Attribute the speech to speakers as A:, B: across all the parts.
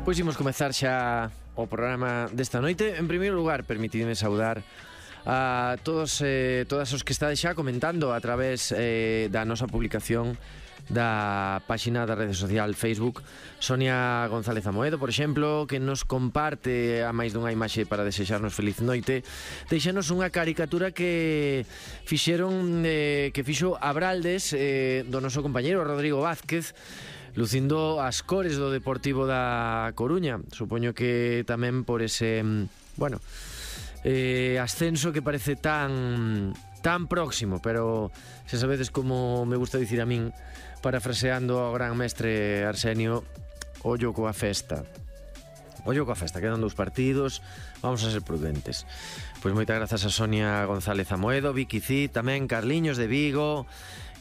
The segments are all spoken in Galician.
A: Pois imos comezar xa o programa desta noite. En primeiro lugar, permitidme saudar a todos todas os que estades xa comentando a través da nosa publicación da páxina da rede social Facebook. Sonia González Amoedo, por exemplo, que nos comparte a máis dunha imaxe para desexarnos feliz noite. Deixanos unha caricatura que fixo Abraldes, do noso compañeiro Rodrigo Vázquez, lucindo as cores do Deportivo da Coruña. Supoño que tamén por ese, ascenso que parece tan próximo, pero se sabedes como me gusta dicir a min, parafraseando ao gran mestre Arsenio, ollo coa festa. Ollo coa festa, quedan 2 partidos, vamos a ser prudentes. Pois moitas grazas a Sonia González Amoedo, Vicky Cid, tamén Carliños de Vigo,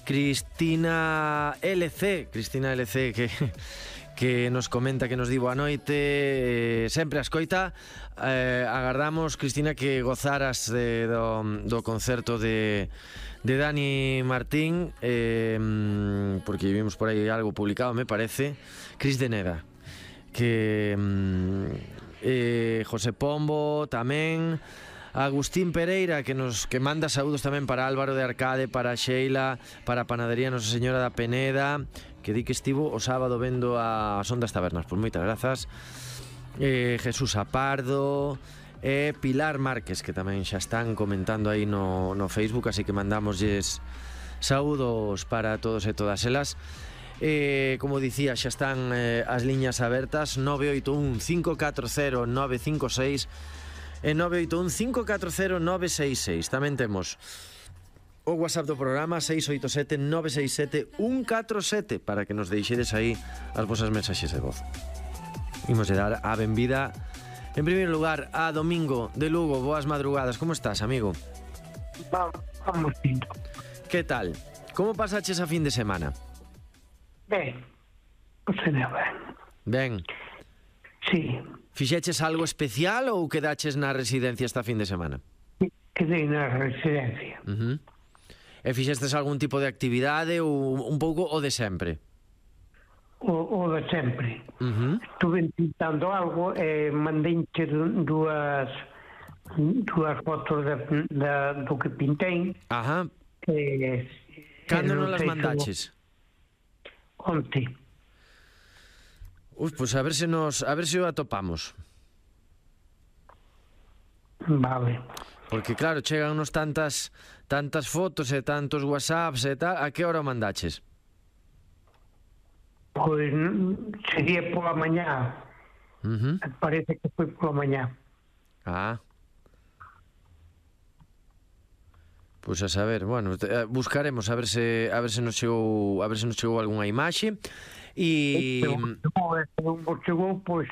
A: Cristina LC que nos comenta, que nos di boa noite, sempre a escoita. Agardamos, Cristina, que gozaras do concerto de Dani Martín, porque vimos por aí algo publicado, me parece. Cris de Neda, que José Pombo tamén, Agustín Pereira, que manda saúdos tamén para Álvaro de Arcade, para Sheila, para a Panadería Nosa Señora da Peneda, que di que estivo o sábado vendo a Son das Tabernas. Pois moitas grazas. Jesús Apardo e Pilar Márquez, que tamén xa están comentando aí no Facebook, así que mandámoslles saúdos para todos e todas elas. Como dicía, xa están as liñas abertas, 981 540 956 e 981 540 966. Tamén temos o WhatsApp do programa 687 967 147 para que nos deixedes aí as vosas mensaxes de voz. Imos de dar a benvida en primeiro lugar a Domingo de Lugo. Boas madrugadas, como estás, amigo?
B: Vamos bien.
A: Que tal? Como pasaches a fin de semana?
B: Ben, será ben.
A: Ben.
B: Sí.
A: Fixeches algo especial ou quedaches na residencia esta fin de semana?
B: Quedei na residencia.
A: E fixestes algún tipo de actividade ou un pouco o de sempre?
B: O de sempre. Estuve pintando algo e mandei-te dúas fotos do que pintei.
A: Ajá. Cando non las mandaches?
B: Onte.
A: Pois a ver se o atopamos.
B: Vale.
A: Porque claro, chegannos tantas fotos e tantos WhatsApps e tal. A que hora o mandaches?
B: Pois sería pola mañá. Parece que foi pola mañá.
A: Pois a saber, bueno, buscaremos a ver se nos chegou algunha imaxe. E
B: non chegou, pois